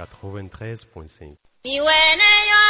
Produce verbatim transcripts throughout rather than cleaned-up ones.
quatre-vingt-treize point cinq. Mi wɛ ne nyɔ,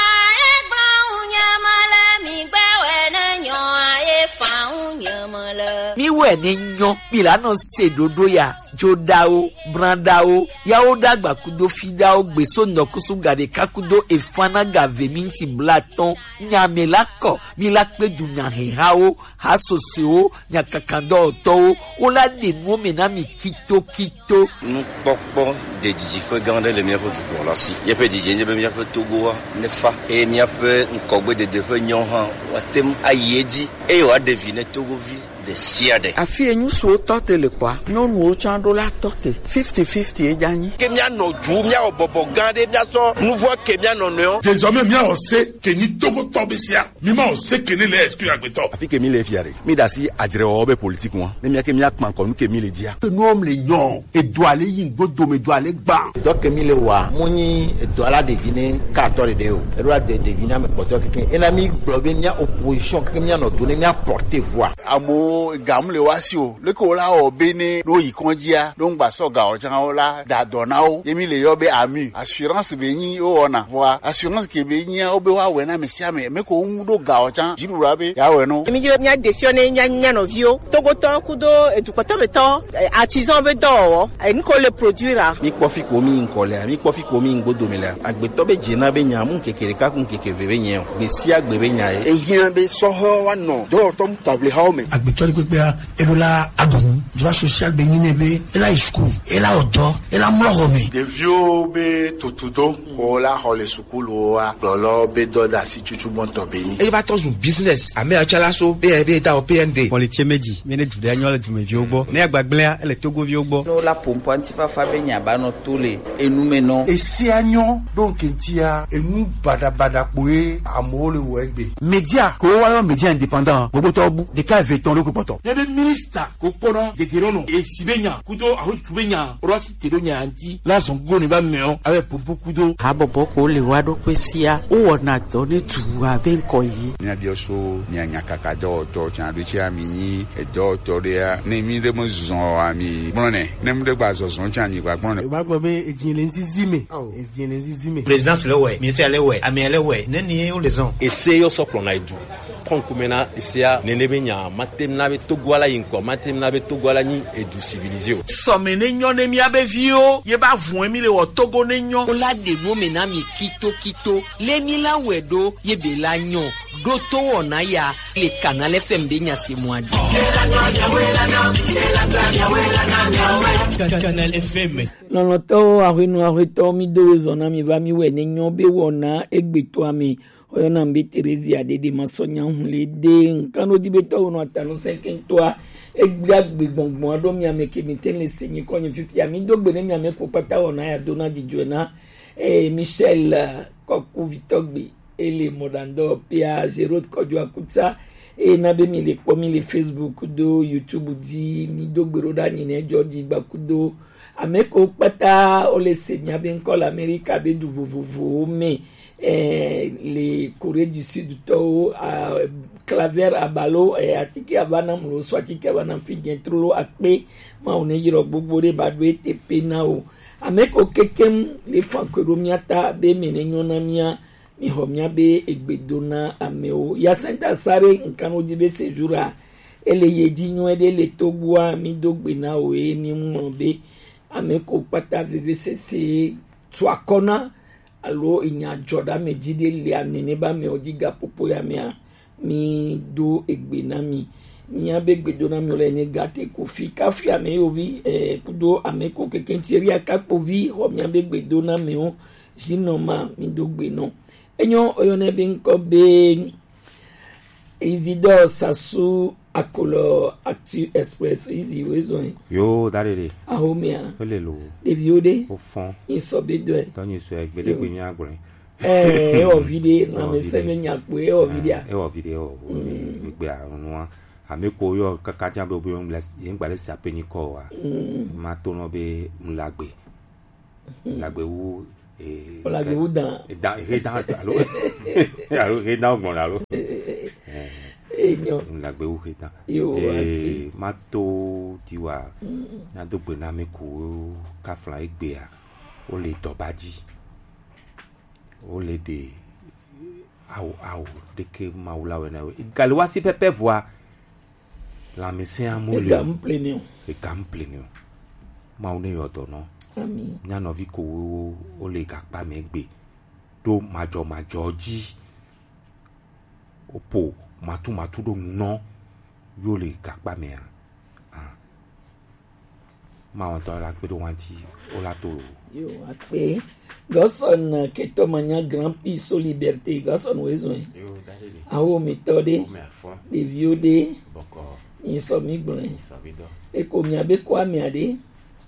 e gba ŋu nyama le, mi gba wɛ ne nyɔ, e fa ŋu nyama le. Mi wɛ ne nyɔ, mi la nɔ se ɖoɖo ya, joɖawo, branɖawo, yawo ɖagba kudo fiɖawo, gbeso nɔkusu ga ɖeka kudo efana ga ve minti blatɔn, nyame la kɔ, mi la kpe du nyahehawo, hasosewo, nyakakadɔwɔtɔwo, wo la ɖe nuwo me na mi kitokito. Nukpɔkpɔ ɖe didiƒe gã aɖe le míaƒe dukɔ la si. Míaƒe didi nye be míaƒe Togoa nefa eye míaƒe ŋkɔgbedede ƒe nyawo hã woate ŋu ayi edzi eye wòaɖe vi ne Togovi ɖe sia ɖe. Afi enyusuwo tɔ te le kpɔa, nyɔnuwo tsã ɖo la tɔ te. Fifty fifty ye dza nyi. Ke míanɔ dzu, míawɔ bɔbɔ gã ɖe, míasɔ nuvɔ ke míanɔ nɔewo. Désormais, míawɔ se ke nyi Togotɔ be sia. Mi ma o se ke ne le exclu agbetɔ. Afi ke mi le fia ɖe, mi ɖe asi adzrewɔwɔ be politique ŋua. Ne mía ke mía kpa ŋkɔ nu ke mi le dzia. Enuɔ mi le nyɔ, edo ale yi ŋgbo dome do ale gba. Dɔ ke mi le wa, mo nyi edo ala ɖevi ne ka atɔ ɖeɖe o. Eɖo ade ɖevi na me kpɔtɔ keke. Ena mi gblɔ be mía opposition keke mía nɔ do ne mía porter voix. Amewo ga mu le wa si o. Leke wo la wɔ be ne ɖo yi kɔndzia, ɖo ŋgba sɔ ga o tsã wo la da dɔ na wo. Ye mi le yɔ be ami. Assurance be nyi wo wɔna. Vɔa assurance ke be nyia wo be wa wɛ na ame sia ame. Me ko ŋu ɖo ga o tsã. Dziɖuɖua be ya wɛ no. Mi dzi be mía ɖe fiɔ ne mía, mía nɔviwo. Togotɔ kudo edukpɔtɔ be tɔ, eh, artisan be dɔwɔwɔ. Eh, nu ko le produire a. Mi kpɔ fi ko mi ŋkɔ lea, mi kpɔ fi ko mi ŋgbo dome lea. Agbetɔ be dze na be nya mu keke ɖeka ku keke ve be nyɛ o. Gbe sia gbe be nya ye. Ehiã be sɔhɔ wa nɔ dɔwɔtɔ mu table hawo me. Agbetɔ ɖe kpekpea, eɖo la aɖu nu, droit social be nyi nɛ be ela yi school, ela wɔ dɔ, ela mlɔ xɔ me. Ɖeviwo be tutudo ko la xɔ le sukuluwoa, gblɔlɔ be dɔdasi tutu gbɔntɔ be nyi. Eye va tɔ zu business, ame atsalaso be ebe da o P N D. Xɔ le tse me dzi, mi ne du ɖe anyɔ le dumeviwo gbɔ, ne agbagblẽa ele togoviwo gbɔ. Ne wola ƒo ŋkɔ ŋutifafa be nya ba nɔ to le enu me nɔ. Esia nyɔ ɖo ŋkɛntia enu baɖabaɖa kpoe amewo le wɔ egbe. Media ko wa yɔ media indépendant, gbogbo tɔ bu ɖeka eve tɔn ɖo kpɔtɔ. Ne be ministre ko kpɔna gege ɖo nɔ esi be nya kudo ahotu be nya rɔ ti te ɖo nya ŋuti la zɔn go ne ba mɛ o abe pompo kudo. Habɔbɔ ko le wa ɖo kpe sia, wo wɔna dɔ ne tu abe ŋkɔ yi. Mía biɔ so mía nyakaka dɔwɔtɔ tsa ɖo tsi ami nyi edɔwɔtɔ ɖea, ne mi ɖe me zɔn ami gblɔ nɛ, ne mi ɖe gba zɔzɔn tsa mi gba gblɔ nɛ. Eva gblɔ be edzi le ŋdi zi me. Edzi le ŋdi zi me. Présidence le wɛ, ministre le wɛ, amea le wɛ, ne ni wo le zɔn. Ese yɔ sɔ kplɔ na edu. Trɔn kume na esea nene be nya, mate na be Togo ala yi ŋkɔ, mate na be Togo ala nyi edu civilisé o. Sɔme ne nyɔ ne mía be viwo, ye ba vun mi le wɔ Togo ne nyɔ. Wo la ɖe nu me na mi kito kito, le mi la wɛ ɖo, ye be la nyɔ, ɖo to wɔna ya, le Canal F M be nya se mɔ adzi. Canal F M. Lɔlɔtɔwo, ahwenu ahwetɔwo, mi do we zɔ na mi va mi wɛ ne nyɔ be wɔna egbetɔa me. Oyɔna mi be Teresia Dede Masɔnya Hunle de ŋkanodibetɔwo nɔ atanu sɛnkɛntɔa. Egbea gbe gbɔngbɔn aɖo mia me ke mi te le se nyi kɔ nyi fifia. Mi do gbe ne mia me ko kpata wɔna ya do na dzidzɔe na, eh, Michel, eh, Kɔkuvitɔ gbe. Ele mɔɖaŋdɔ pia Gerod Kɔdzo Akutsa. Eye na be mi le kpɔ mi le Facebook do YouTube dzi, mi do gbe ɖo ɖa nyi ne dzɔ dzi gba kudo. Ame ko kpata wo le se mia be ŋkɔ le Amerika be du vovovowo me. Eh, le Corée du Sud tɔwo, ah, Claver Abalo, eh, atike aba na mlo so atike aba na fi gen trolo akpe. Ma wo ne yiro gbogbo ɖe ba do ete pe na wo. Ame ko kekem le fan ko ɖo mia ta be me ne nyɔ na mia. Mi xɔ mia be egbe do na amewo. Yasenta Sare ŋkan wo dzi be séjour a, ele ye dzi nyuie ɖe le Togoa, mi do gbe na wo ye mi ŋlɔ be ame ko kpata vevesese tu akɔ na alo enya dzɔ ɖe ame dzi ɖe le ame ne be amewo dzi gaƒoƒo ya mea, mi do egbe na mi. Mia be gbe do na mi le ne gate ko fi kafi ame yo vi, eh, kudo ame ko keke ŋti ria kakpo vi xɔ mia be gbe do na amewo. Zinɔ ma mi do gbe nɔ. Enyo oyɔnɛ be ŋkɔ be Isidore Sassou Akolo Actu Express, Izi woezɔe. Yo, da ɖeɖe. Ahomea. Ele lo. Ɖeviwo ɖe. Wo fɔn. Isɔ be dɔe. Tɔnyi sɔe, gbeɖe gbe mia gblɔe. Eh, ewɔ vi ɖe, lãmesẽ ne nya kpo, ewɔ vi ɖea. Ewɔ vi ɖe, ewɔ vi ɖe, gbegbe anua. Ame ko yɔ kaka dza be, be, yɛn gba le sa pe nyi kɔ wa. Ma to nɔ be ŋlagbe. Ŋlagbe wu, eh, ŋlagbe wu dan. Dan, he dan alo. Alo, he dan gbɔn alo. Eh. Enyo. Ŋlagbe wu he dan. Yo, eh, ma to ti wa. Na do gbe na ame ko kafla egbea. Wo le dɔba dzi. Wo le ɖe awu awu ɖeke Mawu la wɛ na we. Gale wa si pɛpɛ vɔa. Lãmesẽ amu le. Ega mu pleni o. Ega mu pleni o. Mawu ne yɔ dɔ nɔ. Ami. Mía nɔvi ko wo wo le gakpa mɛ gbe. Ɖo majɔ majɔ dzi. Wopo matu matu ɖo nu nɔ yo le gakpa mɛ a. Ah. Mawɔntɔ la kpe ɖo wanti wo la to lo. Yo akpe. Gɔsɔn ketɔ manya grand prix so liberté gɔsɔn wo ezɔn. Yo dade de. Awo mi tɔ de. Wo mi afɔ. Ɖeviwo de. Bɔkɔ. Yin sɔ mi gblɔn. Yin sɔ mi dɔ. Eko mi abe kɔ ami ade.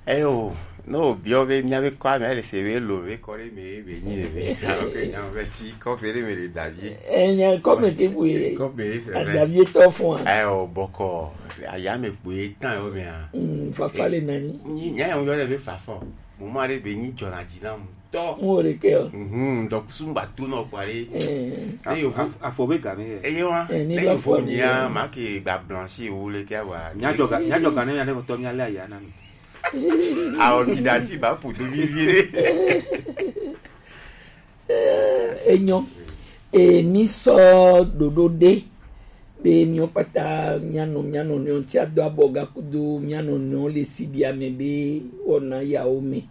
Eyo, no biɔ be mía be kɔ ami le se be lo be kɔ de me be nyi de be. Alo ke nya be ti kɔ be de me de davi. E nya kɔ me ke bu ye. Kɔ be se. Adavi tɔ fun a. Eyo bɔkɔ. Aya me kpoe tan yo mea. Mm, fafa le nani. Ni nya yo yo le be fafa. Mo ma le be ni jona jina mu. Tɔ. Mo le ke o. Mhm, donc sumba tu no kwa le. Eh. E yo fu afɔ be game. E yo wa. Eh, ni le ba yo fu fɔ ni mi a ya. Ma ke gba blanchi wo le ke wa. Nya joga, nya joga ne ya ne ko to nya le aya na mi. A ordinateur ba pour deux mille viré. Enyo. E mi sɔ ɖoɖo ɖe be miwo kpata mianɔ mianɔ nɔewo ŋuti ado abɔ gakudo mianɔ nɔewo le sibi ame be wɔna yawo me.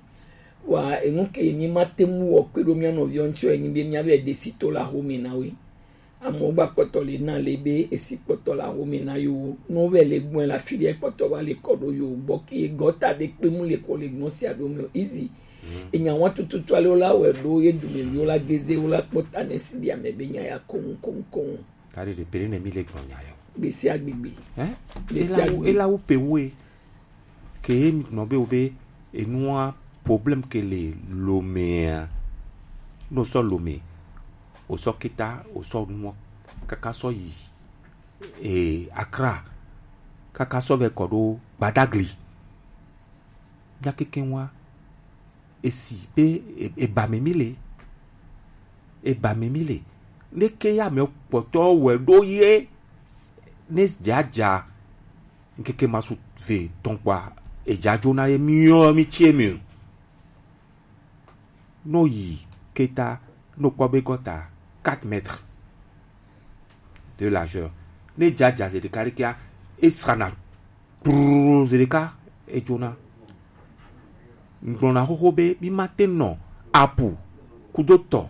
Wa enu ke mi ma te ŋu wɔ kpe ɖo mianɔ viwo ŋuti enyi be miabe ɖe si to la xome na we. Amewo gba kpɔtɔ le na le be esi kpɔtɔ la xome na yo no vɛ le gbɔn la fi ɖe kpɔtɔ va le kɔ ɖo yo gbɔ ke gɔta ɖe kpe mu le kɔ le gbɔn sia ɖo me o. Easy. Enya wa tututu ale wo la wɛ ɖo ye dume mi wo la geze wo la kpɔta ne si ɖi ame be nya ya koŋ koŋ koŋ. Tari ɖe pere ne mi le gbɔn nya yo. Gbesi agbegbe. Hein? Gbesi ela wo agbe. Ela wo pe wo e. Ke ye nɔ be wo be enua problème ke le Lomea. No sɔ Lome, o sɔ Keta, o sɔ nuɔ, kaka sɔ yi e Accra, kaka sɔ vɛ kɔ ɖo Gbadagli. Nya keke wa esi be e, e ba me mi le, e ba me mi le. Ne ke ya me kpɔtɔ wɛ ɖo ye ne jaja. Ŋkeke masu ve tɔn kpɔa, ejajo na ye miɔ mi tsie mi. No yi Keta, no kpɔ be gɔta quatre mètres de largeur. Ne jaja zeɖeka ɖekea, esrana kplu zeɖeka ejona. Ŋgblɔna xoxo be mi ma te nɔ apu kudo tɔ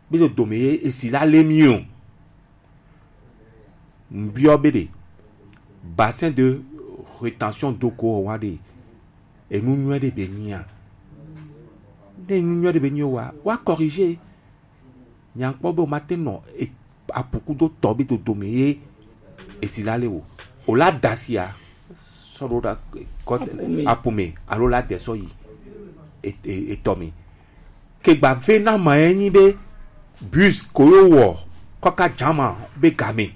be dodome ye esi la le mi o. Ŋbiɔ be ɖe bassin de rétention d'eau ko wa ɖe enu nyuie ɖe be nyia? Ne enu nyuie ɖe be nyia wa, wa corriger. Nyankpɔ be o ma te nɔ e, apu kudo tɔ be dodome ye esi la le o. O la dasia sɔ ɖo ɖa kɔ apu me alo la de sɔ yi e, e, etɔ me. Ke gba ve na ma ye nyi be bus ko yo wɔ kɔ ka jama be game.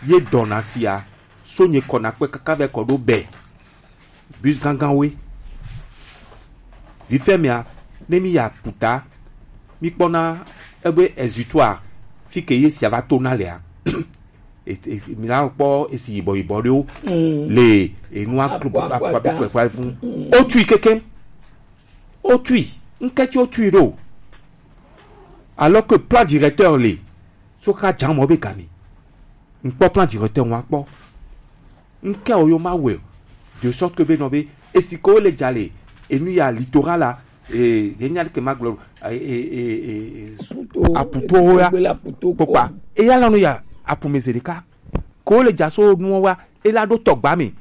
Ye dɔna sia so nye kɔ na kpe kaka vɛ kɔ ɖo bɛ. Bus gangan we. Vifɛ mea, ne mi ya puta, mi kpɔna ebe ezutoa fi ke ye sia va to na lea. E, e, mi la kpɔ esi yibɔ yibɔ ɖewo le enua klo akpa bi kpekpe fun. O tui kekem. O tui, ŋkɛ tsi o tui ɖo. Alors que plan directeur le so ka jan mɔ be game. Ŋkpɔ plan directeur ŋua kpɔ. Ŋkɛ o yo ma wɛ de sorte que be nɔ be esi ko le dza le enu ya littoral la e ye nya ke ma gblɔ e, e, e, e, aputo ya kpokpa eya lanu ya apume zeɖeka ko le dza so nuwo wa e la ɖo tɔgba mi.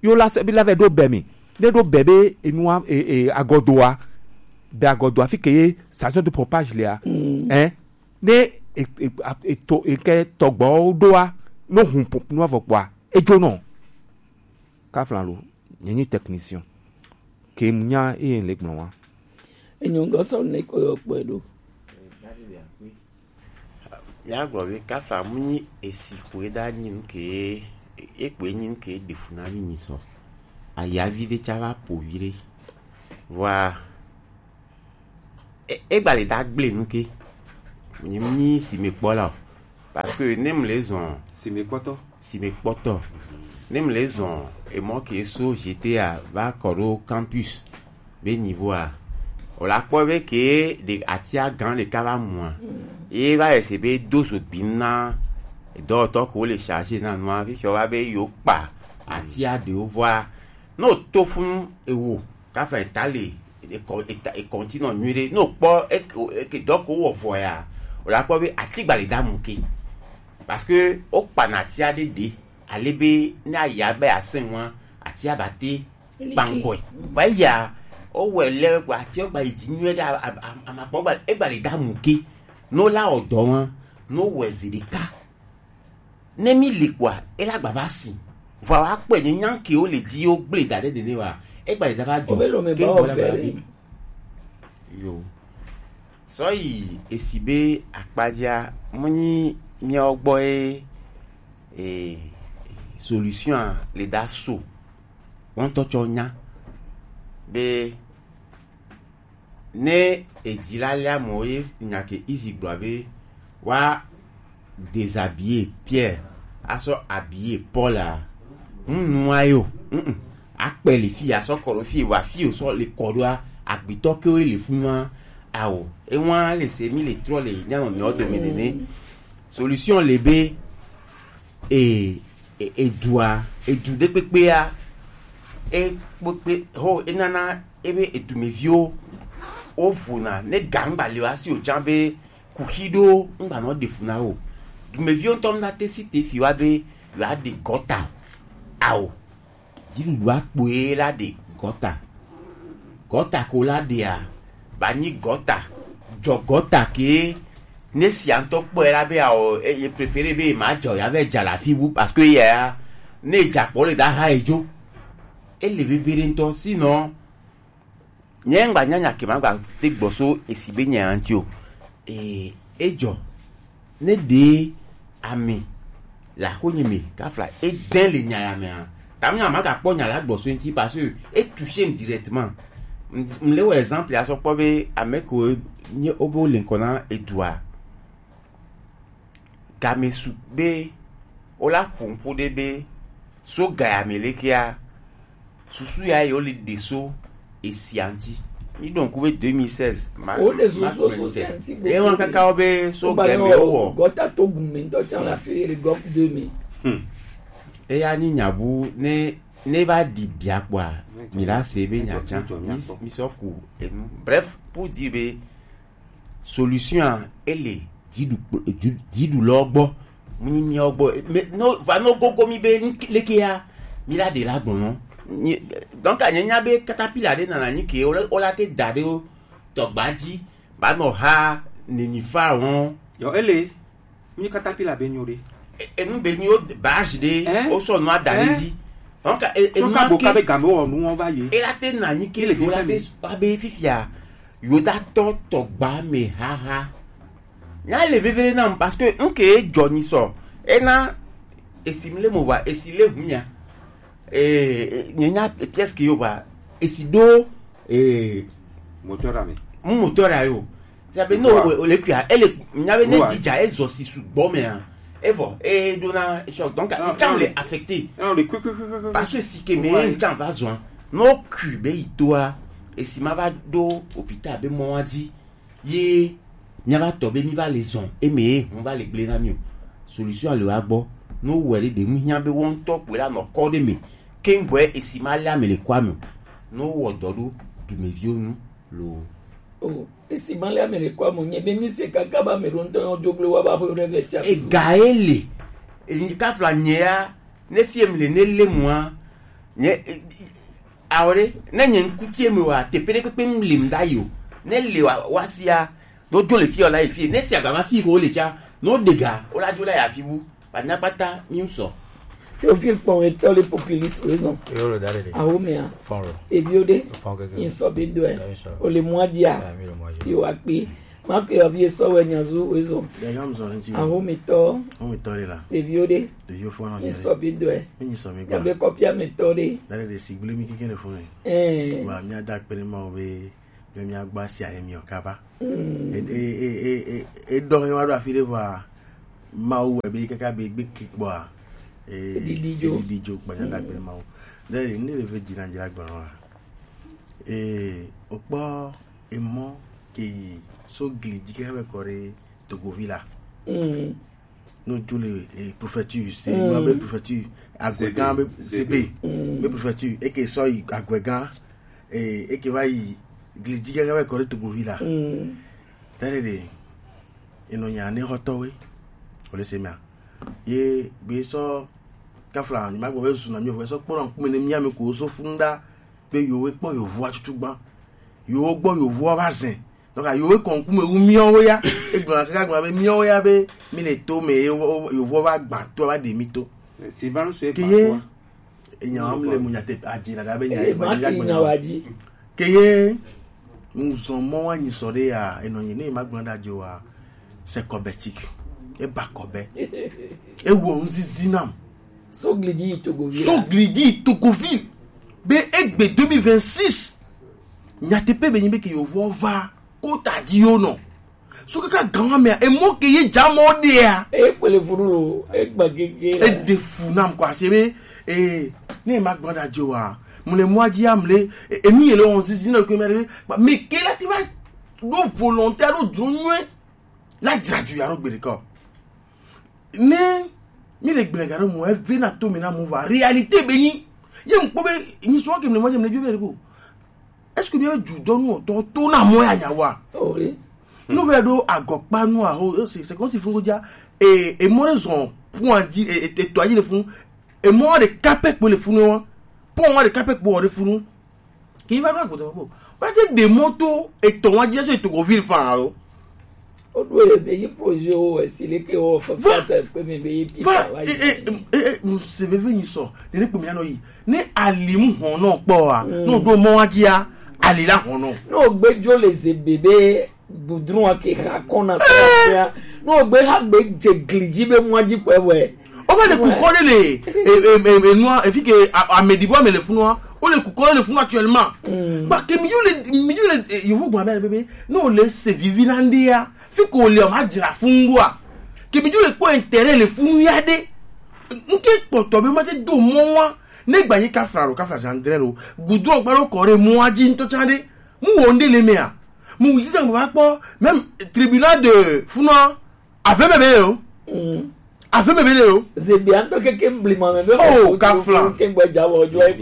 Yo la se bi la vɛ ɖo bɛ mi. Ne ɖo bɛ be enua e, e, agɔdoa. Bɛ agɔdoa fi ke ye station de pompage lea. Hein? Ne e, e, a- eto eke tɔgbɔwo ɖoa no hun po- nua vɔ kpɔa edzo nɔ. Kaflan lo, nye nyi technicien. Ke mu nya eye le gblɔ wa. Enyo gɔsɔ ne ko yo kpɔe ɖo. Míagblɔ be kafla mu nyi esi ko eda nyi nu ke ye kpoe nyi nu ke ɖe fu na mí nyi sɔ. Ayavi ɖe tsa va po vi ɖe. Vɔa e- egba le da gble nu ke. Nyi mu nyi si me kpɔ la o. Parce que ne mu le zɔn si me kpɔtɔ si me kpɔtɔ ne mu le zɔn emɔ ke so G T A va kɔ ɖo campus be niveau a O la kpɔ be ke ɖe atia gan ɖeka va mua. Ye va ese be do zo gbi na dɔwɔtɔ ko le charge na nua, fi sɔ va be yo kpa atia ɖewo vɔa. No to funu ewo, kafa eta le, e kɔ-, eta, e continue nyuie ɖe. No kpɔ e, e, ke dɔ ko wɔ vɔ ya. O la kpɔ be ati gba le da mu ke. Parce que o kpa na atia ɖe ɖe. Ale be ne aya be asɛn wa, atia ba te Like. Kpankɔe. Wa ya, o wɛ lɛ gba atia gba yi dzi nyuie ɖe a, a, a, a ma kpɔ gba, e gba le da mu ke. No la o dɔ wa, no wɛ zi ɖeka. Ne mi li kpɔa, e la gba va si. Vɔ wa kpɔe nye nyan ke wo le dzi yo gble da ɖe nene wa. E gba le da va jɔ. Wo be lo me ke ba wo gbɔ la vɛ gba ɖe. Yo. Sɔ yi esi be akpadzia, mo nyi miawo gbɔ ye, e, solution a le da so. Wo ŋutɔ tsɔ nya be ne edzi la lia mɔ ye nya ke izi gblɔ be wa déshabiller Pierre, asɔ habiller Paul a. Nunua yo. Mm-mm. Akpe le fi asɔ kɔ ɖo fi wa fi o sɔ le kɔ ɖoa, agbetɔ ke wo le funua. Awo. Ewa le se mi le trɔ le nyanɔ nyɔ dome nene. Solution le be e, e, edua, edu ɖe kpekpea, e kpekpe ho enana ebe edumeviwo wo vona ne ga ŋgba le wa si o jan be kuxi ɖo ŋgba nɔ ɖe fu na wo. Dumeviwo ŋutɔ na te si te fi wa be yewoa ɖe gɔta. Ao. Dziɖuɖua kpoe la ɖe gɔta. Gɔta ko la ɖea, ba nyi gɔta. Jɔ gɔta ke ne sia ŋutɔ kpɔe la be ao, e, ye préféré be ma jɔ ya vɛ dza la fi bu parce que ya ne dza kpɔ le da ha edzo. Ele veve ɖe ŋutɔ, sinon nye ŋgba nyanya ke ma gba te gbɔ so esi be nya ŋuti o. Ee, edzɔ. Ne ɖe ame le axonye me kafla edɛn le nya ya mea, ta mi ma gakpɔ nya la gbɔ so ŋuti parce que e touche m directement. M, m le wɔ exemple ya sɔ kpɔ be ame ko nye wo be wo le ŋkɔ na edua. Game su be wo la ƒo ŋƒo ɖe be so ga ya me lekea, susu ya ye wo le ɖe so esia ŋuti. Mi ɖo ŋku be deux mille seize, ma, wo le susu ma so sia ŋuti gbe. Ye wan kaka wo be so ga me wo wɔ. Gɔta to gume ŋutɔ tsa la fi le gɔf deux mille. Hmm. Eya nyi nya bu ne, ne va ɖi bia kpɔa, mi la se be nya tsa. Mi, mi sɔ ku enu. Bref, pour dire be solution a, ele dziɖu kpl-, dzu-, dziɖulɔ gbɔ. Mu nyi miawo gbɔ. Me, no, va no gogo mi be nu ke, leke ya, mi la ɖe la gbɔn nɔ. Nyi, donc, a nye nya be katapila ɖe nana nyi ke, o la, o la te da ɖe o tɔgba dzi, ba nɔ ha neni fa wɔn. Yɔ, ele, mi katapila be nyo ɖe. E, enu be nyi o barge ɖe, hein? O sɔ nua da ɖe dzi. Donc, e, e nua ka bo ke, ka be game wɔ nu wɔn va ye. E la te na nyi ke, ele o la te, abe fifia. Yudatɔ tɔgba me haha. Nya le veve nam parce que nke jɔ ni sɔ. Ena esi mi le mo va, esi le hunya. Eh, eh, nye nya pièce que yo va. Esi do, eh, moteur ame. Mu moteur ayo. Ça veut no o, o le kuya, ele nya be ne dija e zo si su gbɔ me a. Evo, e do na choc. Donc, non, tam non, le affecté. Non, le quick, quick, quick, quick. Parce que si ke me tam va zo. No ku be itoa. Esi ma va do hôpital be mo wa di. Ye, mía va tɔ be mí va le zɔn, eme ye hɔn va le gblẽ na mí o. Solution le wa gbɔ. Ne wowɔe ɖe ɖe nu hiã be wo ŋutɔ kpoe la nɔ kɔ ɖe me. Keŋgbɔe esi ma lé ame le kɔa me o. Ne wowɔ dɔ ɖo dumeviwo nu loo. O, esi ma lé ame le kɔa me o, nye be mí se kaka be ame ɖewo ŋutɔ yɔ joglo wa va ƒe ɖe vɛ tia. Ega ye le. Enyi kafla nye ya, ne fie mi le ne le mua, nye, Awo ɖe, ne nye ŋkutie me wa, teƒe ɖe kpekpe ŋu lim ɖa yi o. Ne le wa, wa sia, ɖo dzo le fi o la yi fi. Ne sia gama fi ko le tsa, no dega, o la dzo la ya fi bu. Ba nya kpata, mi ŋu sɔ. Théophile kpɔn etɔ le populiste raison. Yo lo da ɖe ɖe. Awo mea. Fɔn lo. Eviwo ɖe. Fɔn keke. Ŋsɔ be dɔe. Ya, ŋsɔ. O le mua dia. Ya, mi le mua dia. Yo akpe. Ma ke yɔ vie sɔ wɛ nya zu wezɔ. Ya, ya, ŋsɔ ŋti. Awo mi tɔ. Awo mi tɔ le la. Eviwo ɖe. Ɖeviwo fɔn nɔ mi. Ŋsɔ be dɔe. Mi ŋsɔ mi gba. Ya be kɔpia mi tɔ ɖe. Da ɖe ɖe si gblẽ mi keke le fɔn. Ɛɛ. Wa mía da akpe ɖe Mawu be, be mía gba sia ye miɔ kaba. Mm. E, e, e, e, e, e dɔ he wa ɖo afi ɖe vɔa, Mawu wɛ be kaka be gbe ke kpɔa, e, e didi dzo. E didi dzo kpa mía da akpe ɖe Mawu. Da ɖe ne le ve dzi na dzi la gba wa. E, o kpɔ Emɔ ke yi so gli dzi kaka be kɔ ɖe Togovi la. Mm. No jo le, eh, préfecture, c'est, mm, no be préfecture, Agbegã be Zebe. Mm. Be préfecture, eke sɔ yi Agbegã, eh, eke va yi gli dzi kaka be kɔ ɖe Togovi la. Mm. Tare de, enɔ nya ne hɔtɔwe, o le se mea. Ye be sɔ kafla, ni ma gbɔ be zuna mi o, be sɔ kpɔ na ŋkume ne mi ame ko so funda, be yewo kpɔ yevoa tutu gban. Yewo gbɔ yevoa va zɛn. Donc, yewo kɔ ŋkume wu miawo ya. Egblɔna kaka gblɔna be miawo ya be mi le to me, yewo, yevoa va gba to, va ɖe mi to. Ke ye, enya wa mi le mu nyate adzi na da be nya ye ma ti nya wa dzi. Ke ye, ŋzɔn mɔ wa nyi sɔ ɖe ya, enɔ nyi ne ma gblɔ da dzi wa, c'est kɔbɛtik. E ba kɔbɛ. E wo ŋzizi nam. Sogli di Togoville. Sogli di Togoville. Be egbe deux mille vingt-six. Nyateƒe be nyi be ke yevo va kota dzi yo nɔ. So kaka gan wa mea, emɔ ke ye dza mɔ ɖea. E kpele funu lo, e gba gege. E ɖe fu nam quoi, c'est be, eh, ne ma gbɔ da dzi wa. Mle mɔ dzi amle, e, e mi le on zizi na ko me re. Ba me ke la ti va do volonté do dro nyuie. La dra du ya ro gbe de ko. Ne mi le gblẽ ga ɖe mo eve na to mi na mo va réalité be nyi. Ye ŋkpɔ be nyi sɔ ke mle mo je mle bi be ko. Est-ce que mi ju dɔ nu to to na mo ya nya wa? Oh oui. No ve do agɔkpa nu a ho, c'est c'est comme si fun ko ja e e mo re zon point di e e to aji le fun. E mo de kape ko le fun wa. Pon wa de kape ko de fun. Kì í bá gbàgbọ́ tó kó. Wọ́n ti dè mọ́tò ètò wọn jẹ́ sọ ètò kò fi fa o. Ó dúró lè bẹ yí projet o ẹ̀ sì lè ké o fẹ́ fẹ́ tẹ̀ pé mi bẹ yí bí va wá e yìí. E e e e mo se ve ve yin sɔ ne ne kpemi anɔ yi ne alimu hɔn nɔ kpɔ wa n'o do mɔ wa dia ali la hɔn nɔ. N'o gbẹjọ lè ze bebe gudrun wa ke ha kɔn na fia n'o gbẹ ha gbẹ jẹ giliji bẹ mɔ wa ji pẹ wẹ. O va le kukɔ de le e e e e nua efi ke amedibo ame le funua o le kukɔ de le funua actuellement. Ba ke mi yo le mi yo le yevu gbɔn abẹ bebe n'o le se vivi na ndi ya fi ko le o ma jira fun do a ke mi yo le kpɔ intérêt le funu ya de nke kpɔtɔ be ma te do mɔ wa ne gba yi kafra ro kafra zandre ro gudrun gba ro kɔ re mɔ wa ji ntɔ tsa de mu wo nde le mea mu yi kan ba kpɔ même tribunal de funua. Ave me be o. Ave me be le o. Zebi anto keke mblima me be. Oh, kafla. Ke gba ja wo jo e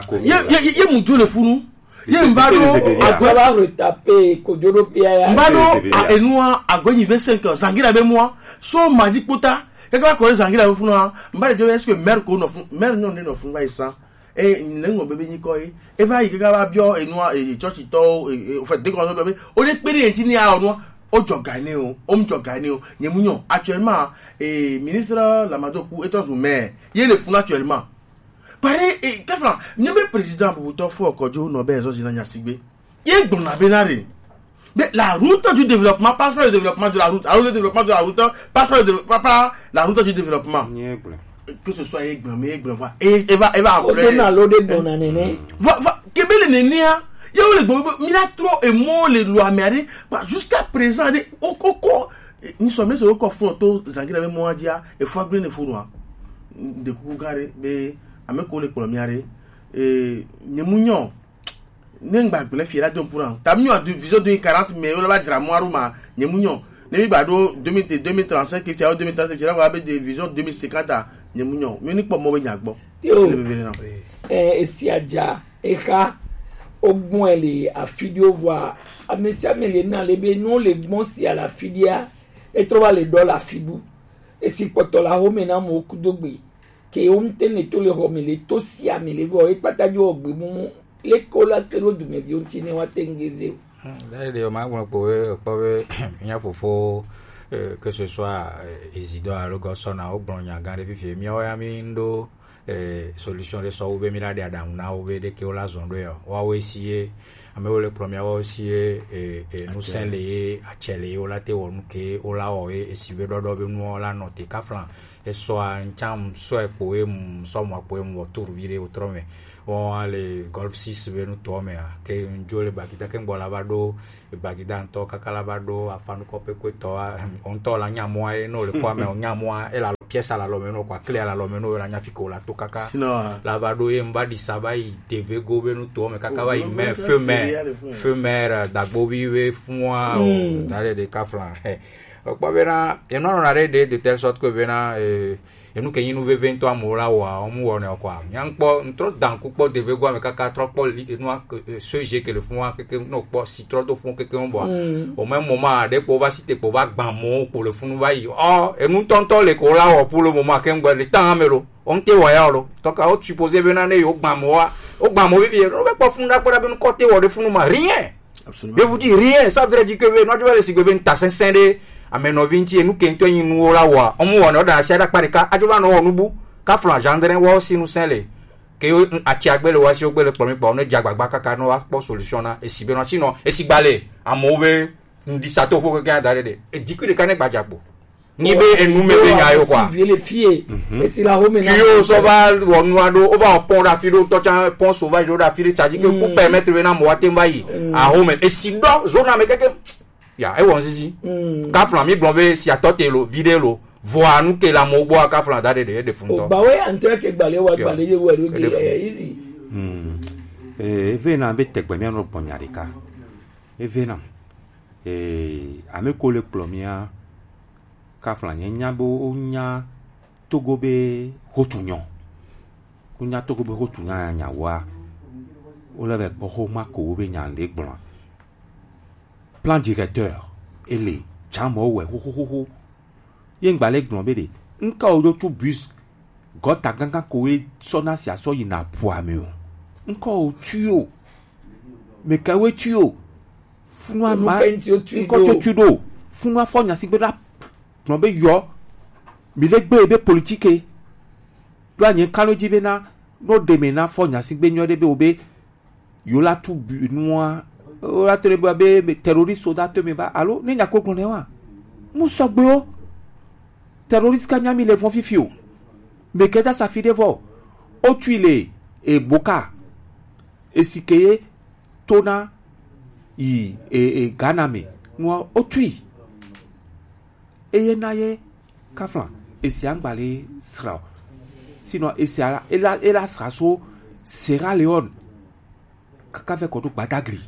ko. Ye ye ye mu jo le funu. Ye mba do agwe ba retape ko jo do pia ya. Mba do enua agwe ni vingt-cinq ans. Zangira be moi. So madi kota. Keke ba ko zangira be funu. Mba de jo est-ce que maire ko no fun? Maire no ne no fun ba isa. E le ŋlɔ bebe nyikɔ ye. E va yi kaka va biɔ enua e church tɔwo e e fait de kɔnɔ bebe. O de kpe de enti ni a onua. O jɔ gane o, o mu jɔ gane o. Nye mu nyɔ actuellement e ministre Lamadoku e tɔ zu maire. Ye le fun actuellement. Pare e kefla nye be président bubutɔ fo kɔjo nɔ be ezo zina nya sigbe. Ye gbɔna be na re. Mais la route du développement passe par le développement de la route. La route du développement de la route passe par, le développement, par la route du développement. Que ce soit Aigle, mais Aigle va, et, et va, et va en plein. Au-delà, l'eau de bonne année. Va, va, kebele nenia. Ya ou le bon, mina trop et mon le loi mais allez, bah, jusqu'à présent, allez, au coco, nous sommes sur le coffre, tout, Zangira, mais moi, dia, et faut bien le fou noir. De coucou, garé, mais, à mes collègues, pour le miaré, et, ne mouillon. Ne ŋgba gblẽ fie la do pour an. Ta mi nyɔ du vision deux mille quarante mais yo la ba dzra mo aruma. Nye mu nyɔ. Ne mi ba do deux mille, deux mille trente-cinq ke fia deux mille trente fia la ba be de vision deux mille cinquante a. Nye mu nyɔ. Mi ni kpɔ mo be nya gbɔ. Yo. Le bebe na. Eh, esi adza, exa, ogbɔn ele afidio vɔa, amesi amele na le be no le gbɔn si ala fidia, etrɔ va le dɔ la fidu. Esi kpɔtɔ la home na mo kudogbe. Ke wo ŋutɔ le to le xɔ me le to sia me le vɔ ekpata dzo gbe mumu le ko la ke ɖo dumeviwo ŋuti ne woate ŋu geze o. D'ailleurs, ɖe wòmagblɔ kpo be ekpɔ be mía fofo, eh, que ce soit, eh, Isidore alo Gɔsɔna, wogblɔ nya gã ɖe fifie. Míawo ya míɖo, eh, solution ɖe sɔ wu be míla ɖe aɖaŋu na wo be ɖeke wola zɔ ɖo ya o. Woawoe si ye, ame wo le kplɔ míawo si ye, eh, eh, ŋusẽ le ye, atsɛ le ye, wola te wɔ nu ke wola wɔ ye, esi be ɖɔɖɔ be nuwo la nɔ te kafla. Esɔa ŋtsam sɔe kpo ye mu sɔ mɔ kpo ye mu wɔ tour vi ɖe wotrɔ me. Wɔn le Golf six be nutɔ me a ke ŋdzo le Bagida ke ŋgbɔ la va ɖo Bagida ŋutɔ kaka la va ɖo afanukɔ pekpetɔ a ŋutɔ la nya mɔa ye ne wòle kɔa me wònya mɔa ela lɔ pièce à la lɔmɛ no, quoi, clé à la lɔmɛ no, la nya fi ke wo la to kaka. Sinon, la va ɖo ye n va ɖi sa va yi deve go be nu to me kaka va yi me feu maire, feu maire, dagbovi be fua o, da ɖe ɖe ka flan. Okpɔ bena, enu anɔ na ɖe ɖe de telle sorte que bena, eh, enu ke nyi nu veve ŋutɔ amewo la wɔa, wo mu wɔnɛ o, quoi. Nya ŋkpɔ, ŋtrɔ danku kpɔ deve go ame kaka trɔ kpɔ li, enua, eh, ce jeu ke le fua keke, no kpɔ si trɔ do fun keke ŋu bɔa. Au même moment, ɖe kpɔ va si te kpɔ va gbã mɔ kpɔ le funu va yi. Ɔ, enu tɔntɔ le ko la wɔ pour le moment, ke ŋgbɛ le temps ame lo. On te wɔ ya lo. Donc, o supposé bena ne yo gbã mɔ wa, o gbã mɔ vivi, no be kpɔ funu da kpɔ da be nu kɔ te wɔ de funu ma. Rien. Absolument. Je vous dis rien, ça voudrait dire que be, no adu le sigbe be nta sɛnsɛn de, ame nɔvi ŋti, enu ke ŋtɔ nyi nuwo la wa, ɔmu wa no da sia da kpa ɖeka, adzo va nɔ wɔ nubu, ka flan gendre wɔ si nu sɛn le. Ke yo, ati agbe le wa si o gbe le kpɔ mi kpɔ, ne dza gbagba kaka no wa kpɔ solution na, esi be no, sinon, esi gba le, amewo be, ŋdi sa to fo keke da ɖe ɖe. E dikui ɖeka ne gba dza kpo. Ni be enu me be nya yo, quoi. Vie le fie. Mhm. Esi la home na. Tu yo so va wɔ nua ɖo, o va pɔn ɖe afi ɖo, tɔ tsa pɔn sauvage ɖo ɖe afi ɖe, tsa dzi ke pour permettre be na mɔ wa te va yi. Mhm. Ahome. Esi ɖɔ, zona me keke. Ya, e wɔ ŋsisi. Mhm. Ka flan mi gblɔ be si atɔ te lo, vi ɖe lo. Vɔa nu ke la mo gbɔ ka flan da ɖe ɖe, ɖe fun tɔ. O ba we antre ke gbale wa gbale ye we ɖo ge, eh, easy. Mhm. Eh, eve na be tegbe mi anɔ gbɔ nya ɖeka. Eve na. Eh, ame ko le kplɔ mia, ka flan nye nya be wo nya Togo be hotu nyɔ. Wo nya Togo be hotu nya nya wa. Wo le be kpɔ ho ma ko wo be nya le gblɔ. Plan directeur, ele, jamɔ wɛ, ho, ho, ho, ho. Ye ŋgba le gblɔ be ɖe, ŋka wo ɖo tu bus, gɔta gangan ko we sɔ na si asɔ yi na pua me o. Ŋka wo tu o. Me ka we tu o. Funu ama, ŋkɔ tu tu ɖo. Funu afɔ nya si gbe la, gblɔ be yɔ. Mi le gbe be politique. Ɖo anyi kalo dzi be na, no ɖe me na fɔ nya si gbe nyɔ ɖe be wo be, yo la tu bu nua, wo la to ɖe be, be terroriste wo da to me va, alo, ne nya ko gblɔ ne wa. Mu sɔgbe o. Terroriste ka nya mi le fɔn fifi o. Me ke da sa fi ɖe vɔ. O tui le, e boka. Esi ke ye to na yi, e, e, Ghana me. Nua o tui. Eye na ye kaflan. Esi a ŋgba le sra o. Sinon, esi a, e la, e la sra so Sierra Leone. Kaka vɛ kɔ ɖo Gbadagli.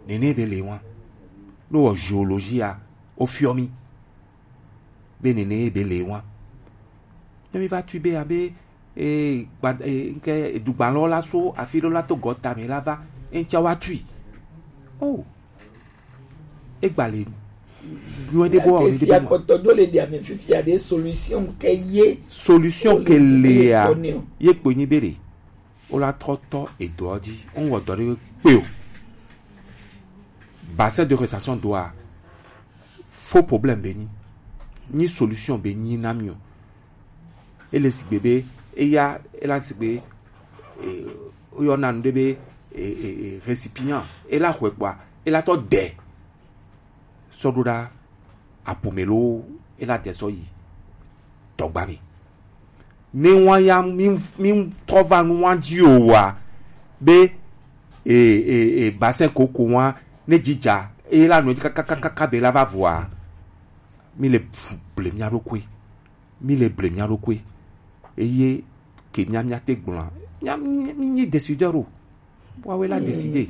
Nene be le wan. No wɔ géologie a, o fiɔ mi. Be nene be le wan. Ne mi va tui be abe, e, gba, e, nke, e, dugbalɔ la so afi ɖo la to gɔta me la va. Eŋtsia wa tui. Oh. Egba le nyuie ɖe bo wa o. Esi akpɔtɔ do le ɖia me fifia ɖe solution ke ye. Solution ke le ya. Ye kpo nyi be ɖe. O la trɔ tɔ edɔ dzi. O wɔ dɔ ɖe kpe o. Bassin de rétention doa. Faux problème be nyi. Nyi solution be nyi na mi o. Ele sigbe be, eya, ela sigbe, e, oyɔna nu ɖe be, e, e, e, récipient. Ela xɔe kpɔa, ela tɔ de. Sɔ ɖo ɖa, apo me lo, ela de sɔ yi. Tɔgba me. Ne wan ya, mi, mi trɔ va nu wan dzi o wa, be, e, e, e, bassin koko wan, ne dzidza, ela nɔ dzi kaka, kaka, kaka be la va vɔa. Mi le fu ble mia ɖokui. Mi le ble mia ɖokui. Eye ke mia, mia te gblɔa. Mia, mi, mi nyi décideur o. Wa we la décider.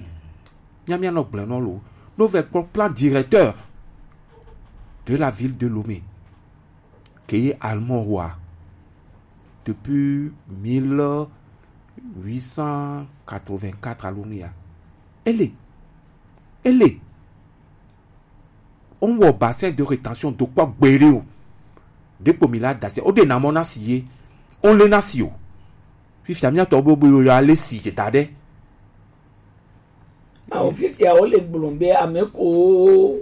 Mia, mia nɔ gblɔ nɔ lo. No vɛ kpɔ plan directeur de la ville de Lomé. Ke ye allemand wa. Depuis mille huit cent quatre-vingt-quatre alo nu ya. Ele. Ele. O wɔ bassin de rétention do kpɔ gbeɖe o. Ɖekpo mi la dase. O ɖe na mɔ na si ye. O le na si o. Fifia mia tɔ bo bo yo ya le si ke ta ɖe. Awo fifia wo le gblɔ be ame ko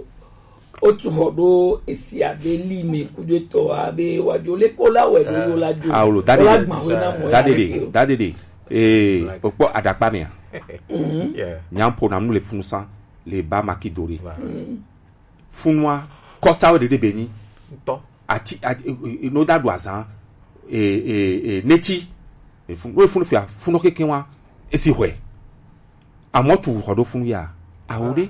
o tu xɔ ɖo esi abe li me ku do tɔ abe wa jo le ko la wɛ do yo la jo. Awo lo, da de de. Da de de. Da de de. Eh, o kpɔ aɖakpa mea. Yeah. Nyampo na nu le funu san. Le ba maki dore. Funua, kɔsawo ɖeɖe be nyi. Ŋutɔ. Ati, ati, e, e, e, no da ɖu azan, e, e, e, neti. E, fun-, no funu fia, funɔ keke wa, esi hwe. Amɔ tu xɔ ɖo funu ya, awo ɖe.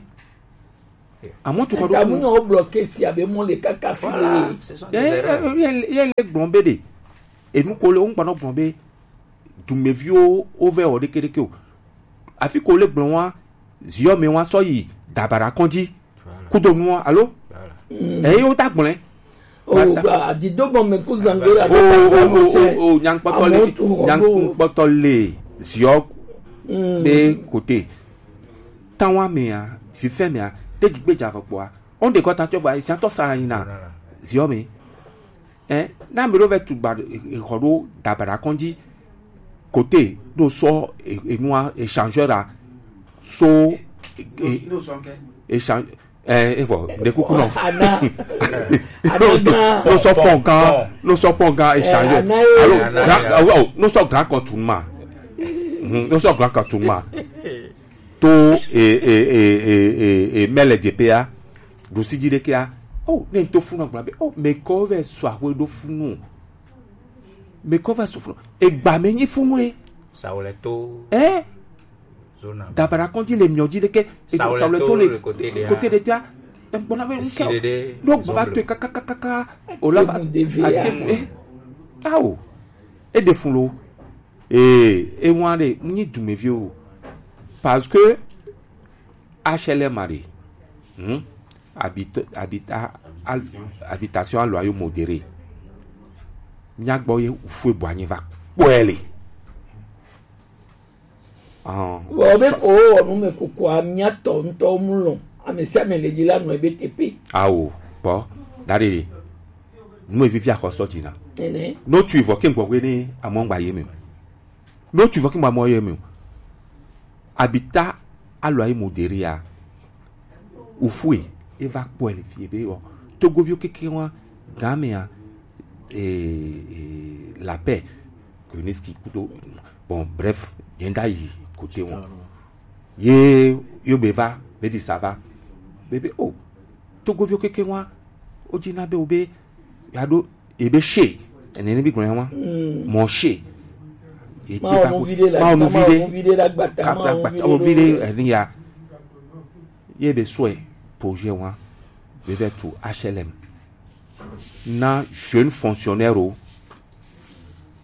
Amewo tu xɔ ɖo funu. Tamu nyawo blɔ kesi abe mɔ le kaka fi le. Voilà, ce sont des erreurs. Ye ye le gblɔm be ɖe. Enu ko le wo ŋgba nɔ gblɔm be dumeviwo wo vɛ wɔ ɖeke ɖeke o. Afi ko le gblɔm wa ziɔ me wa sɔ yi dabara kɔndzi. Voilà. Kudo nu wa alo. Voilà. Eye wo ta gblɔe. O gba adido bɔ me ku zangbe la. O o o o o nyankpɔtɔ le nyankpɔtɔ le ziɔ be kote. Tanwa mea, fifɛ mea, ɖe dzi gbe dza vɔ kpɔa. On de kɔta tɔ va esi atɔ sa yina ziɔ me. Eh, na me ɖo vɛ tu gba xɔ ɖo dabara kɔndzi kote ɖo sɔ enua échangeur a so échange eh evɔ ne kuku nɔ. Ana ana gan. No sɔ pɔn gan, no sɔ pɔn gan échangeur. Alo gran, no sɔ gran kɔntun ma. No sɔ gran kɔntun ma. To e e e e e e mɛlɛ dze pea ɖusi dzi ɖekea. O ne ŋutɔ funu agblɔ be o mekɔ vɛ sɔ aƒe ɖo funu. Mekɔ vɛ sɔ funu egba me nyi funu ye. Sawulɛ to. Ɛ. Zona. Dabara kɔndzi le miɔ dzi ɖeke. Sawulɛ to le kote ɖe tia. Egbɔna be ŋkɛ ɖo gbɔ va to kakakaka o la va ati ɛ. Awo. E de fun lo. Ee, e wan ɖe mu nyi dumevi o. Parce que H L M a ɖe, hmm? Habit, habita, al, habitation à loyer modéré. Mía gbɔ ye ufue bɔ anyi va kpɔe le. Vɔ be ko wɔ nu me kukua mía tɔ ŋutɔ mu lɔ ame sia ame le dzi la nɔ ebe teƒe. Awo kpɔ da ɖe nu evivi akɔsɔ dzi na. Nene. No tu vɔ ke gbɔ we ne amɔ gba ye me. No tu vɔ ke gba mɔ ye me. Habita à loyer modéré a. Ufue e va kpɔe le fie be wɔ togoviwo keke wa game a. La paix Kuniski kudo. Bon bref, jenda yi kote wọn ye yo be va be di sava be be o togoviwo keke wa o dzi na be o be ya ɖo ebe she ene ne bi gblɔ ya wa mɔ she ye ti ba ko ma o nu vi de la ma o nu vi de ka ta gbata o vi de eni ya ye be sɔe projet wa be vɛ tu H L M na jeune fonctionnaire o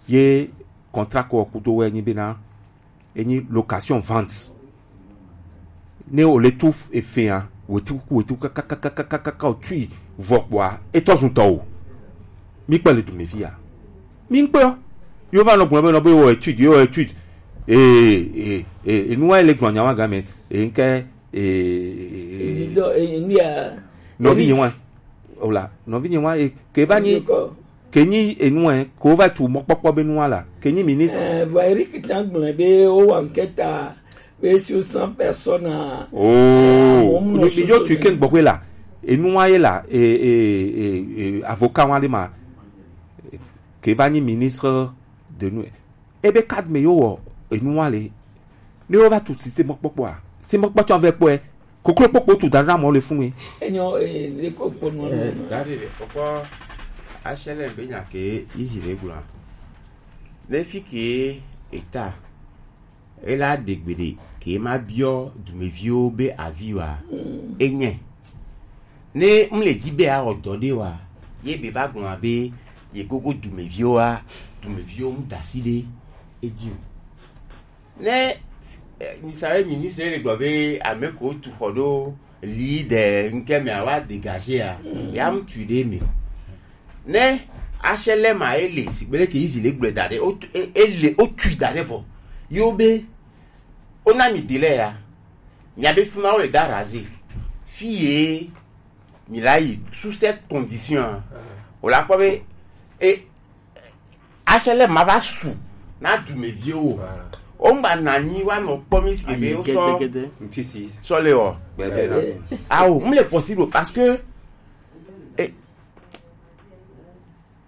ye contrat ko kudo wɛ nyi be na enyi location vente ne o le tu efea wetu kuku wetu kakakakakaka o tui vɔ kpɔa etɔ zun tɔ o mi kpɛ le dumevi ya mi ŋkpɛ o yo va nɔ gblɔ be nɔ be wɔ étude yo wɔ étude ee ee ee enua le gblɔ nyawa game ee ŋkɛ ee nɔvi nyi wa o la nɔvi nyi wa ee ke va nyi ke nyi enua ko va tu mɔkpɔkpɔ be nua la ke nyi ministre. Vɔ Eric tã gblɔe be wo wa ŋkɛ ta be sur cent personnes a. Oo mi dzo tu ke gbɔgbe la enua ye la ee ee ee avocat wa de ma ke va nyi ministre de nous. Ebe carte me yo wɔ enua le ne wo va tu si te mɔkpɔkpɔ a si mɔkpɔ tsɔ vɛ kpɔɛ koklo kpɔkpɔ tu da ɖe amɔ le fun ye. Enyo ee le ko kpɔ nu. Dari de kpɔkpɔ H L M be nya ke izi le gblɔ ne fi ke eta ela de gbe de ke ma biɔ dumeviwo be avi wa enye ne m le dzi be awɔ dɔ ɖe wa ye be va gblɔ be ye gogo dumeviwo wa dumeviwo ŋu da asi ɖe edzi o ne eh, nyisa ɖe ministre le gblɔ be ame ko tu xɔ ɖo li de ŋkɛ me awa dégagé a ya ŋu tui ɖe me ne H L M a ele sigbe leke izi le gblɔe da ɖe o tu- e- ele o tui da ɖe vɔ yewo be o na mi délai ya mia be funa wo le da raze fi ye mi la yi sous cette condition a o la kpɔ be e H L M ma va su na dumeviwo o ŋgba nanyi wa nɔ kpɔ mi si be o sɔ sɔ le o awo mu le possible parce que e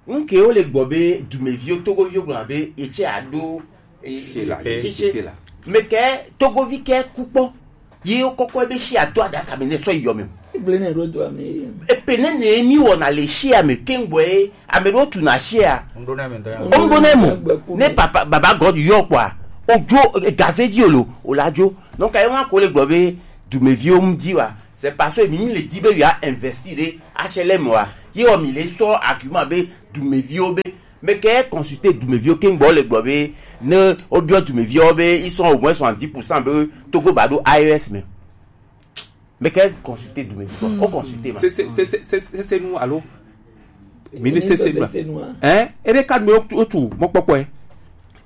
nke wo le gbɔ be dumeviwo togoviwo gblɔ be etse aɖo etse meke togovi ke kukpɔ ye wokɔkɔ ebe si ato aɖaka me ne sɔ yi yɔ me o. Egblẽ ne ɖo doa me. Epe ne ne mi wɔna le sia me keŋgbɔ ye ame ɖewo tuna sia. Ŋɖo ne mo ne papa baba God yɔ kpɔa odzo gaze dzi olo ola dzo. Donc ayi ŋua ko le gblɔ be dumeviwo ŋu dzi wa C'est parce que mi le di be ya investir ɖe H L M wa. Ye wɔ mi le sɔ argument be dumeviwo be, mais ke consulter dumeviwo ke gbɔ le gbɔ be ne o biɔ dumeviwo be ils sont au moins soixante-dix pour cent be Togo ba do A E S me. Mais ke consulter dumeviwo, o consulter ma. C'est c'est c'est c'est c'est c'est nous allô. Ministre c'est nous. Hein? Et les cadres me tu tu mon papa.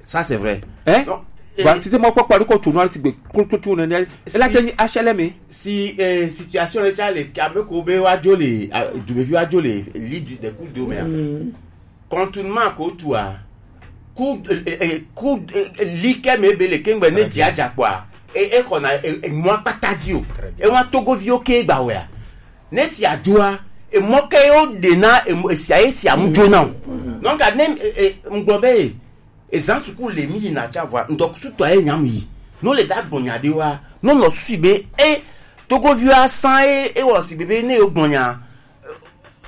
Ça c'est vrai. Hein? Donc, voilà, c'était mon papa le coach nous c'est que tout tout on est. Et là tenir H L M. Si eh, situation le tsa le kame ko be wa jo le ah, dumevi wa jo le li du de coup de mer. Contournement ko tu a. Ku eh, eh, ku eh, li ke me be le kengbe ne dia ja kwa. E e kona e e mo patadi o. E wa togo vi o ke gba we a. Ne si ajoa e mo ke o de na e mo- e si aye si amu jo na o. Donc a nem e e ngbo be e zan suku le mi yi na cha vwa ndok su to aye nyam yi. No le da gbonya de wa. No no su be e togo vi a san e e wo si bebe ne yo gbonya.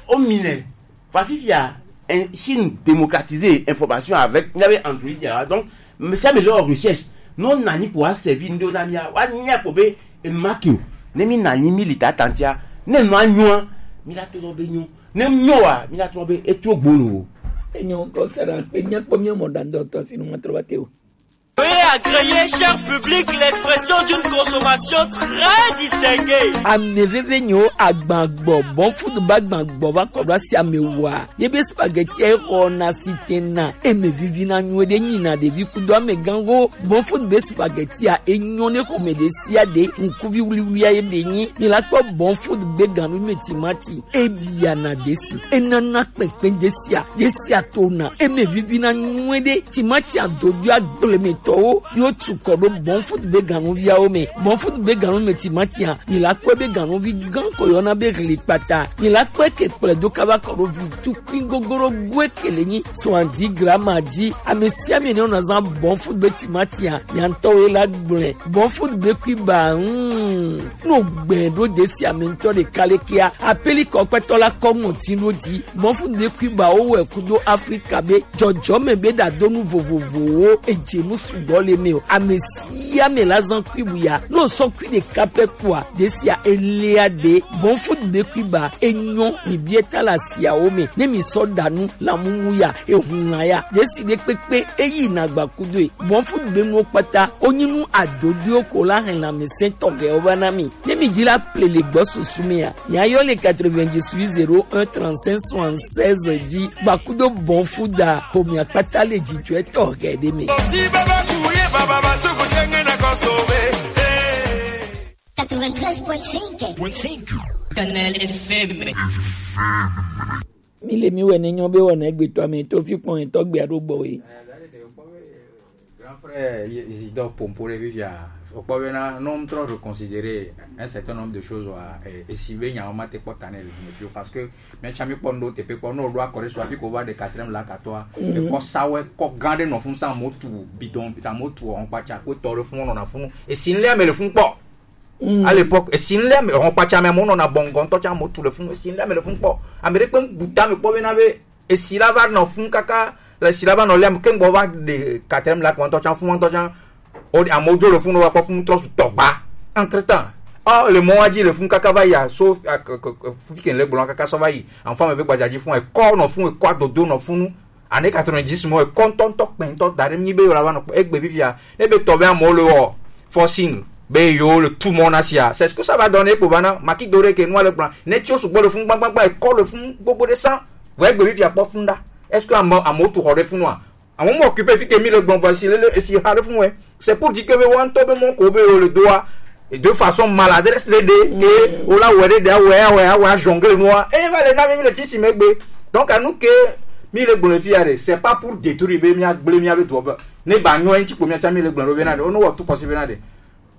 O mine. Fa fifia en Chine démocratiser information avec il y avait Android ya. Donc mais ça me leur recherche. Non nani pour servir ndo na mia. Wa nya ko be e makio. Ne mi nani mi lita tantia. Ne no anyo. Mi la to do be nyo. Ne nyo wa mi la to be e to gbolo. Enyo ko sara pe nya ko mi mo dando to sinu matro bateo. Veuillez agréer, cher public, l'expression d'une consommation très distinguée. Ame veve nyo agban gbɔ, bon food ba agban gbɔ va kɔ ɖo asi ame wa. Ye be spaghetti e xɔ na si te na, eme vivi na nyuie ɖe nyi na ɖevi kudo ame gan wo. Bon food be spaghetti a e nyɔ ne xɔme ɖe sia ɖe, ŋkuvi wuliwulia ye be nyi. Mi la kpɔ bon food be ganu me timati. Ebia na desi. Enana kpɛnkpɛ desia. Desia tona. Eme vivi na nyuie ɖe. Timati adodo agble me tɔwo. Yo tu kɔ ɖo bon food be ganuviawo me. Bon food be ganu me timati a. Mi la kpɔe be ganuvi gan ko yɔna be ɣli kpata. Mi la kpɔe ke kplɛ do kaba kɔ ɖo vi tukui gogoro goe ke le nyi. Soixante-dix grammes a di. Ame sia ame ne wona zan bon food be timati a. Miantɔ ye la gblẽ. Bon food be kui ba. Hmm. No gbɛ ɖo desi ame ŋutɔ ɖeka le kia. Apeli kɔkpɛtɔ la kɔ ŋɔti ɖo dzi. Bon food be kui ba wo wɛ kudo Afrika be jɔjɔme be ɖadonu vovovowo edze nu sugbɔ le me o. Ame sia ame la zan kui bu ya. No sɔ kui ɖeka pɛ kua. Desia elia de. Bon food be kui ba enyɔ mi bie ta la siawo me. Ne mi sɔ ɖa nu la mumu ya. Ehun la ya. Desi ɖe kpekpe eyi na gba kudo e. Bon food be nuwo kpata. Onyi nu adodoewo ko la hɛn lanmɛsɛntɔ gɛwo va na mi. Ne mi di la ple le gbɔ susu me a, mi ayɔ le quatre-vingt-dix-huit zéro un trente-cinq soixante-seize di gbakudo bon food a homia kpata le jijɔetɔ gɛ ɖe me. Quatre-vingt-treize point cinq. Kanal F M. Mi le mi wɛ ne nyɔ be wɔna egbetɔ ame to fi kpɔn etɔ gbea ɖo gbɔ we. Grand frère Isidore Pompo ɖe fifia, wokpɔ bena ne wotrɔ reconsidérer un certain nombre de choses wa, esi be nyawo mate kpɔ ta ne le fi o, parce que mɛtsa mi kpɔ nu ɖo teƒe kpɔ ne woɖo akɔ ɖe so hafi ko va ɖe quatrième la katɔa, ekɔ sawe kɔ gã ɖe nɔ funu sa amewo tu bidon, amewo tu ɔhɔnkpatsa kpe tɔ ɖe funu nɔna funu esi ŋlɛ ame le funu kpɔ. À l'époque, esi ŋlɛ ame hɔn kpatsa ame amewo nɔna bɔngɔ ŋutɔ tsa amewo tu le funu, esi ŋlɛ ame le funu kpɔ. Ame ɖe kpe ŋu bu ta me kpɔ bena be esi la va nɔ funu kaka le esi la va nɔ lɛ ame ke ŋgbɔ va ɖe quatrième la kpɔ ŋutɔ tsa funu ŋutɔ tsa. O amewo dzo le funu va kpɔ funu trɔ su tɔgba. Entre temps, ɔ le mɔ wa dzi le funu kaka va yi a so fi ke le gblɔ kaka sɔ va yi anfa me be gbadza dzi funu ekɔ nɔ funu ekɔ adodo nɔ funu. Année quatre-vingt-dix mɔ ekɔ ŋutɔ ŋutɔ kpɛ ŋutɔ da ɖe mi be yewo la va nɔ kpɔ egbe fifia ne be tɔ be amewo le wɔ forcing be yewo le tu mɔ na sia, c'est ce que ça va donner kpo va na maki do ɖe ke nua le gblɔ ne tsi wo sugbɔ le funu gbagbagba ekɔ le funu gbogbo ɖe san vɔ egbe fifia kpɔ funu ɖa. Est-ce que ame amewo tu xɔ ɖe funua? Amewo mo occupé fi ke mi le gbɔn voici lele esi ha ɖe funu wɛ. C'est pour dire que be wa ŋutɔ be mɔ ko be yewo le doa de façon maladresse le de ke o la wɛ de de awɛ awɛ awɛ jongle noa e va le na mi le tsi si megbe. Donc à nous que mi le gblɔ fi ya de c'est pas pour détruire be mi agble mi abe dobe ne ba nyo en tsi ko mi acha mi le gblɔ be na de ono wa tu kosi be na de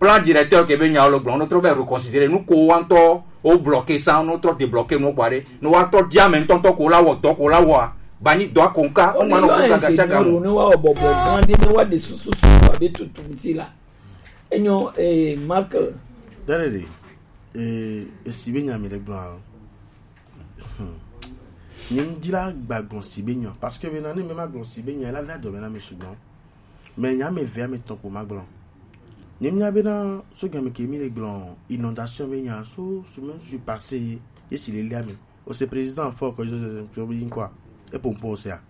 plan directeur ke be nya le gblɔ ono tro be reconsidérer nous ko wa ŋutɔ o bloquer ça ono tro débloquer no kwa de no wa tro dia me ŋutɔ ŋutɔ ko la wɔ dɔ ko la wɔ ba ni dɔ ko nka o ma no ko gaga sia gamu ne wa bɔbɔ gan de ne wa de susu susu abe tutu ŋti la. Enyo eh, Mark. Dare de eh, esi be nya mi le gblɔ. Hmm. Nye ŋdi la gba gblɔ si be nya parce que be na ne me ma gblɔ si be nya la la dɔ be na me sugbɔ. Mais nya me ve ame tɔn ko ma gblɔ. Nye mia bena so game ke mi le gblɔ inondation be nya so semaine su passé ye si le lia me. O se président fort que je je bi quoi. E pompo o se a.